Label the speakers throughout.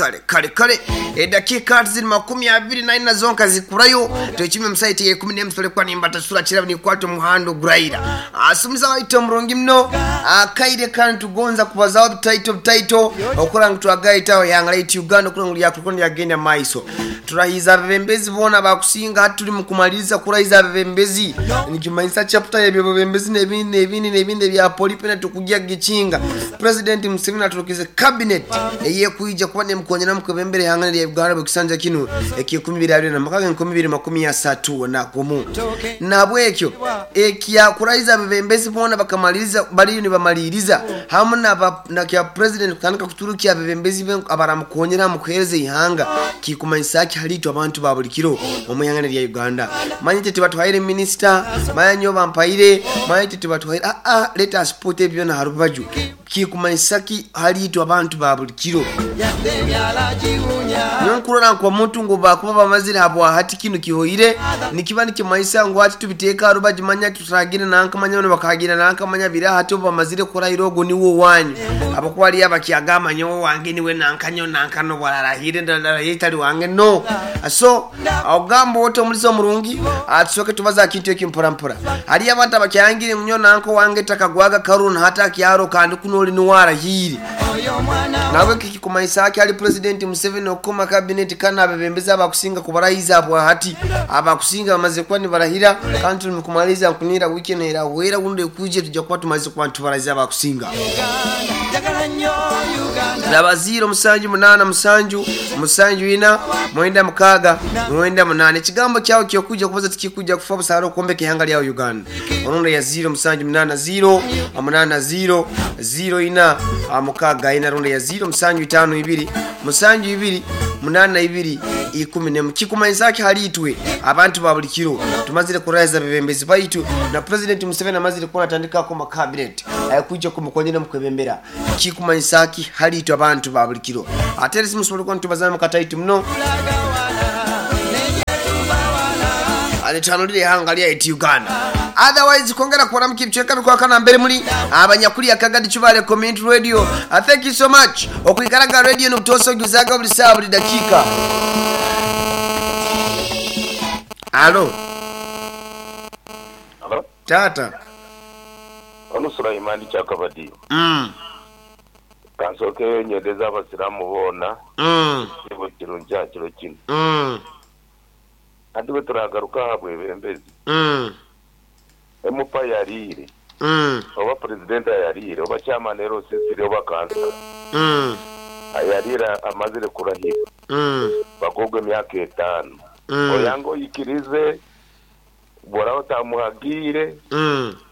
Speaker 1: Kale kale kale, eddakiika ziri 24 zonka zikurayo twekime musaiti ya 11 tulikuwa nimbatasura kirabo nikwata omuhanda oguraira. Asumuza waitu omurungi muno akaire kandi tugonza kubazaho butaito butaito okura ngu twagaitaho ihanga laitu Uganda okura ngu lyakuruka lyagenda maiso. Turahiza abebembezi boona bakusinga, hati turi mukumaliriza kurahiza abebembezi, nikimanyisa chapter y'ebyobubembezi n'ebindi n'ebindi n'ebindi ebya polipena tukujja kugikinga. President Museveni aturukize cabinet eyekwija kuba nemukonyera mukwebembera ihanga lya Uganda bwekisanja kinu ekyekumi bibiri abiri na mukaga 2031. Nabwekyo ekyakurahiza abebembezi boona bakamaliriza, bariyo nibamaliriza hamu na kya president kutandika kuturukya abebembezi abaramukonyera mu kuhereza ihanga, kikumanyisa ki hali itwe abantu ba buli kiro omu ihanga lya Uganda. Manye tibatuhaire minister, manye nyo bampaire, manye tibatuhaire, let us put ebyo na harubaju. Kikumanyisa ki hali itwe abantu ba buli kiro. Nkurora nko omuntu ngu bakuba bamazire habwa hati kinu kihoire, nikiba nikimanyisa ngu hati tubiteeka harubaju, manya tutaragira nankamanya bakagira nankamanya bira hati bamazire kurahira ogo niwo wanyu. Abakuba ali abakyagamba nyowe wange niwe nankanyo nankano bwararahire ndarahire itali wange no. So ogamba wote omulizo omurungi atusoke tubaza kintu eki mpora mpora. Hali abantu abakyangire nyo nanko wange takagwaga karuna hata kyaro kandi kunoli niwarahire. Nawe kikumanyisa ki ali President Museveni okukoma cabinet kana abebembezi abakusinga kubarahiza abwa hati abakusinga bamaze kuba nibarahira kandi turi mukumaliza nkunira weekend era wera gundi kuje tujja kuba tumaze kuba tubarahiza abakusinga. Laba 0 7 8 7 4 9 6 9 8. Ekigambo kyawe kyokuja kubaza tikikuja kufa busara okombeka ihanga lyawe Uganda. Onondo ya 0 7 8 0 8 0 0 4 6 4 rondo ya 0 7 5 2 7 2 8 2 10. Kikumanyisa ki hali itwe abantu ba buli kiro tumazire kurahiza bebembezi baitu na President Museveni amazire kuba atandikako ma cabinet ayakuja kumukonyera mukwebembera. Kikumanyisa ki hali itwe abantu ba buli kiro. Ate simusobola kuba ntubazana mukataitu muno anitanulire ihanga lya Uganda. Otherwise kongera kuona mkicheka bikwa kana mbere muri abanyakuri akagadi chubale community radio. Thank you so much. Okuikaraga radio n'utoso juzaga buli saa buli dakika. Alo.
Speaker 2: Alo.
Speaker 1: Tata.
Speaker 2: Ono Sulaimani Chakabadi. Kansoke nyendeza abasiramu bona. Ibo kirunja kiro kino. Andi bwe turagaruka habwebembezi. Emupa yarire. Oba president yarire, oba chairman ero sisiri oba kansa. Ayarira amazire kurahira. Bagogwe emyaka 5. Oyango yikirize bora otamuhagire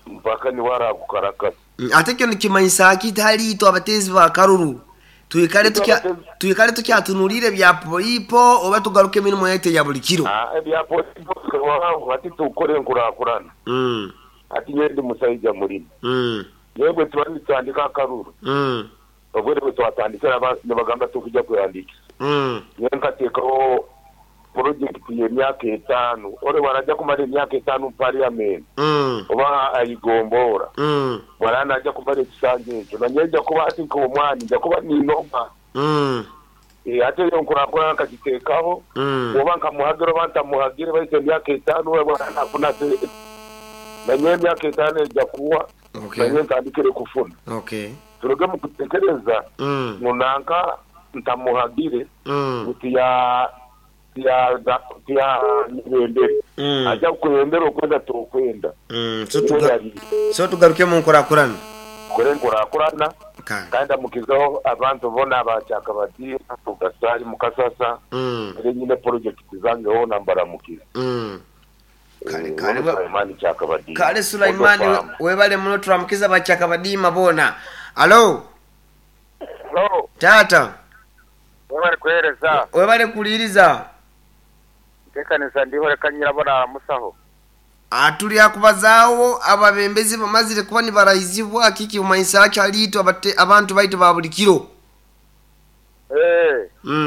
Speaker 2: mpaka ni wara kukarakasa.
Speaker 1: Ate kyo nikimanyisa ki hali itwe abatezi ba karuru. Tuikale tukyatunulire bya polipo oba tugaruke emirimo yaitu ya buli kiro.
Speaker 2: Ebya polipo ati tukore nkurakurana. Ati nyende musaija murimo. Yebwe twandika akaruru. Obwere bwe twatandikira nibagamba tukujja kuyandikisa. Nyenkateekaho project y'emyaka 5 ore waraja kumara emyaka 5 parliament. Oba ayigombora. Warana aja kumara ekisanja ekyo nanyeja kuba ati nk'omwani nja kuba ninoma. Ate yo nkurakora nkakiteekaho. Oba nkamuhagira oba ntamuhagire baite emyaka 5 warana afuna nanye emyaka 5 ejja kuwa. Nanye ntandikire kufuna. Turuge mu kutekereza munanka ntamuhagire uti ya nibendere. Aja kuyendera okwenda tokwenda.
Speaker 1: So tugaruke mu nkurakurana.
Speaker 2: Kore nkurakurana. Kandi mukizaho abantu bona abachakabadi tugasari mukasasa. Ere nyine project zange ho nambara mukiza.
Speaker 1: Kale kale kale Sulaimani webale muno turamukiza bachakabadi mabona. Alo.
Speaker 3: Alo.
Speaker 1: Tata.
Speaker 3: Webale kuhereza.
Speaker 1: Webale kuliriza.
Speaker 3: Tekanisa ndiho rekanyira bona musaho.
Speaker 1: Atuli akubazaawo ababembezi bamazire kuba nibarahizibwa kiki umanyisa ki hali abantu baitu ba buli kiro.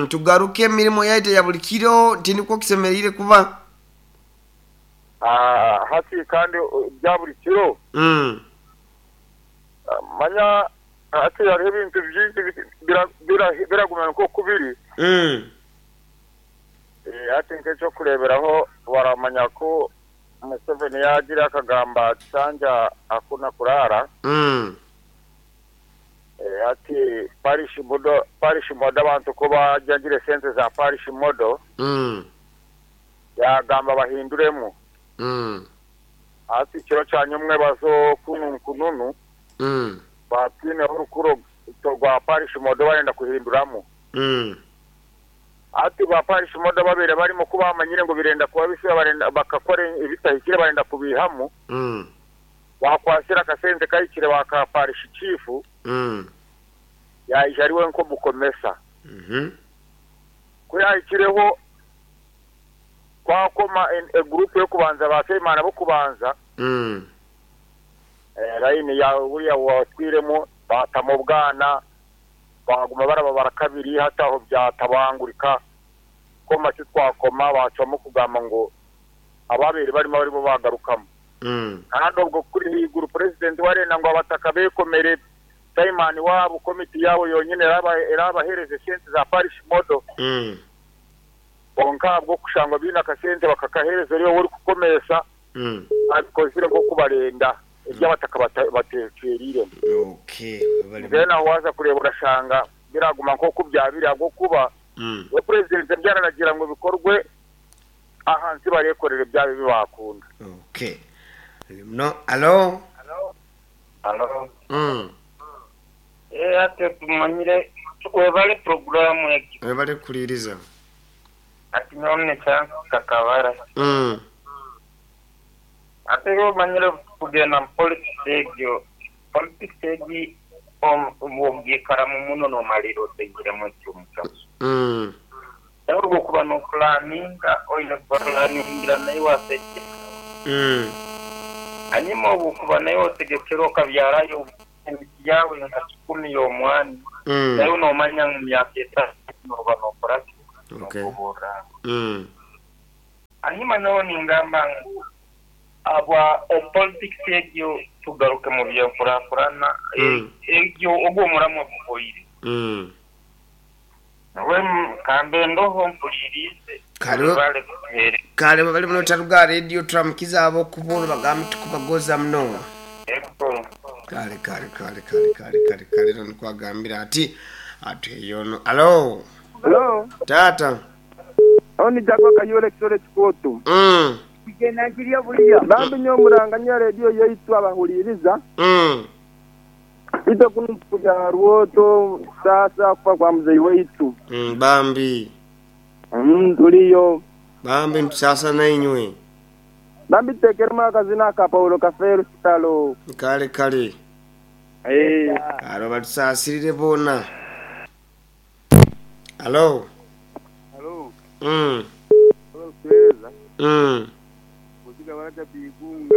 Speaker 1: Tugaruke emirimo yaitu ya buli kiro tiniko kisemerire kuba.
Speaker 3: Hasi kandi bya buli kiro. Manya Ati hariho ebintu bingi biraguma nk'oku biri. Ati nk'ekyokureeberaho baramanya ku Museveni yaagira akagamba ati hakuna kurara. Ati parish model abantu ko bajagire sente za parish model. Yagamba bahinduremu. Ati kiro kya nyumwe bazo kununu. Batine orukuro rwa parish model barenda kuhinduramu. Ati ba parish model babere barimo kubamanyire ngo birenda kuba bise barenda bakakora ibitahikire barenda kubihamu. Wakwasira kasente kayikire baka parish chief. Yaije ariwe nko bukomesa. Kuyayikireho kwakoma group yo kubanza basemana bo kubanza. Line ya buriya watwiremo batamo bwana baguma barababara kabiri hataho byatabangurika ko make twakoma bacamo kugamba ngo ababere barimo barimo bagarukamo. Kandi ubwo kuri higuru president warena ngo abataka bekomere Simon wabo komite yabo yonyine erabahereze sente za parish model. Bonka bwo kushangwa bina kasente bakakahereza ryo uri kukomesa. Abikozire ko kubarenda ibyabataka batekerire.
Speaker 1: Okay.
Speaker 3: Bena waza kureba urashanga biraguma nko kubyabira bwo kuba we president byararagira ngo bikorwe ahansi barekorere byabe bibakunda.
Speaker 1: Okay. No, allo.
Speaker 4: Allo. Ate tumanyire webale programu yaki.
Speaker 1: Webale kuliriza.
Speaker 4: Ati nyone chance kakabara. Ate yo manyire kugenda politics egyo. Politics egi omugikara mu muno no maliro tegire mu cyumuka. Ahubwo kuba no planninga oile planningira nayo waseke. Anyuma ubu kuba nayo wategekero kabyarayo yawe nka 10 y'omwani. Nayo no manya mu myaka 3 no banokora.
Speaker 1: Okay.
Speaker 4: Anyuma nayo ningamba aba politics egyo tugaruke mu byakurakurana egyo ogwo muramwe buhoyire. We kambe ndoho mpulirize.
Speaker 1: Kale bali muno taruga radio turamukiza abo kuburu bagambe tukubagoza muno. Kale kale kale kale kale kale kale no kwagambira ati atuyono. Allo.
Speaker 5: Allo.
Speaker 1: Tata.
Speaker 5: Oni jakwa kayole kisole chikoto. Bambi nyo muranganya radio yaitu abahuliriza. Ito kunukuja ruoto sasa kufa kwa mzee wetu.
Speaker 1: Bambi.
Speaker 5: Tuliyo.
Speaker 1: Bambi sasa na inywe.
Speaker 5: Bambi tekerema kazina ka Paulo Kafero sitalo.
Speaker 1: Kale kale. Aro batusasirire bona. Allo.
Speaker 5: Allo.
Speaker 1: Allo.
Speaker 5: Kuziga baraka bigunga.